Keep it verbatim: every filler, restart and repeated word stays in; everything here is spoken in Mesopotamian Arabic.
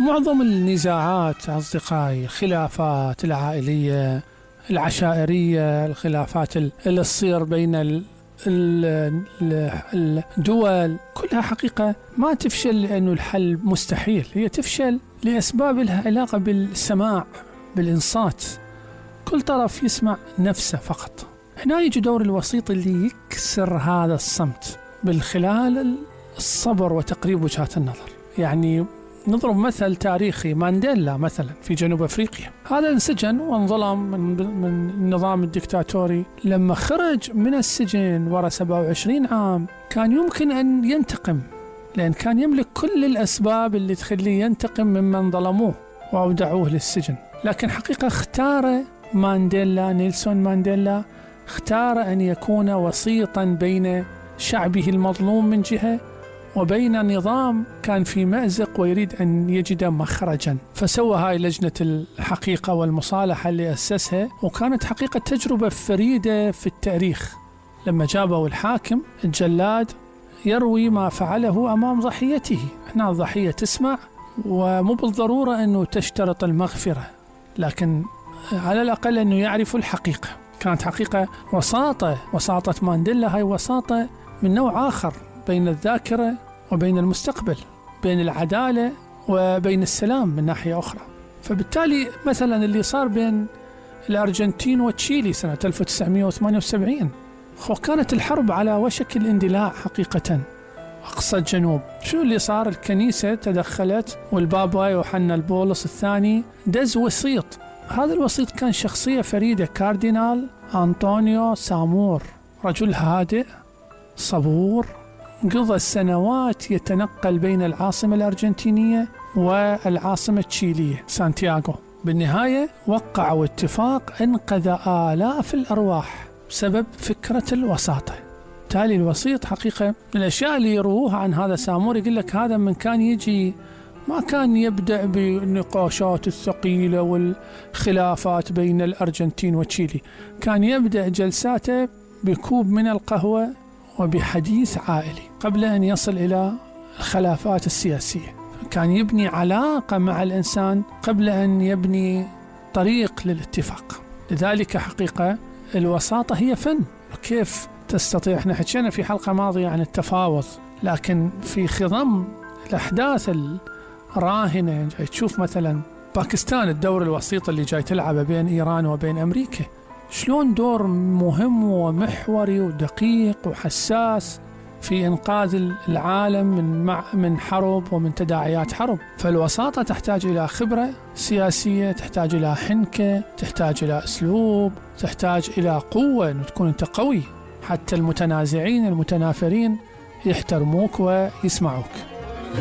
معظم النزاعات أصدقائي، الخلافات العائلية العشائرية، الخلافات اللي تصير بين الدول، كلها حقيقة ما تفشل لأنه الحل مستحيل، هي تفشل لأسباب لها علاقة بالسماع، بالإنصات. كل طرف يسمع نفسه فقط. هنا يجي دور الوسيط اللي يكسر هذا الصمت بالخلال الصبر وتقريب وجهات النظر. يعني نضرب مثل تاريخي، مانديلا مثلا في جنوب أفريقيا، هذا انسجن وانظلم من, من النظام الدكتاتوري. لما خرج من السجن ورا سبعة وعشرين عام كان يمكن أن ينتقم، لأن كان يملك كل الأسباب اللي تخليه ينتقم ممن ظلموه وأودعوه للسجن. لكن حقيقة اختار مانديلا، نيلسون مانديلا، اختار أن يكون وسيطا بين شعبه المظلوم من جهة وبين نظام كان في مأزق ويريد أن يجد مخرجا. فسوى هاي لجنة الحقيقة والمصالحة اللي أسسها، وكانت حقيقة تجربة فريدة في التاريخ. لما جابوا الحاكم الجلاد يروي ما فعله أمام ضحيته. هنا الضحية تسمع، ومو بالضرورة أنه تشترط المغفرة، لكن على الأقل أنه يعرف الحقيقة. كانت حقيقة وساطة، وساطة مانديلا هاي وساطة من نوع آخر بين الذاكرة وبين المستقبل، بين العدالة وبين السلام من ناحية أخرى. فبالتالي مثلا اللي صار بين الأرجنتين وتشيلي سنة ألف وتسعمائة وثمانية وسبعين، وكانت الحرب على وشك الاندلاع حقيقة أقصى الجنوب. شو اللي صار؟ الكنيسة تدخلت، والبابا يوحنا البولس الثاني دز وسيط. هذا الوسيط كان شخصية فريدة، كاردينال أنطونيو سامور، رجل هادئ صبور، قضى السنوات يتنقل بين العاصمة الأرجنتينية والعاصمة التشيلية سانتياغو. بالنهاية وقعوا اتفاق أنقذ آلاف الأرواح بسبب فكرة الوساطة. بالتالي الوسيط حقيقة من الأشياء اللي يروها عن هذا سامور، يقول لك هذا من كان يجي ما كان يبدأ بالنقاشات الثقيلة والخلافات بين الأرجنتين وتشيلي، كان يبدأ جلساته بكوب من القهوة وبحديث عائلي قبل أن يصل إلى الخلافات السياسية. كان يبني علاقة مع الإنسان قبل أن يبني طريق للاتفاق. لذلك حقيقة الوساطة هي فن. كيف تستطيع، احنا حكينا في حلقة ماضية عن التفاوض، لكن في خضم الأحداث الراهنة جاي تشوف مثلا باكستان، الدور الوسيط اللي جاي تلعبه بين إيران وبين أمريكا، شلون دور مهم ومحوري ودقيق وحساس في إنقاذ العالم من من حرب ومن تداعيات حرب. فالوساطة تحتاج إلى خبرة سياسية، تحتاج إلى حنكة، تحتاج إلى أسلوب، تحتاج إلى قوة، أن تكون أنت قوي حتى المتنازعين المتنافرين يحترموك ويسمعوك.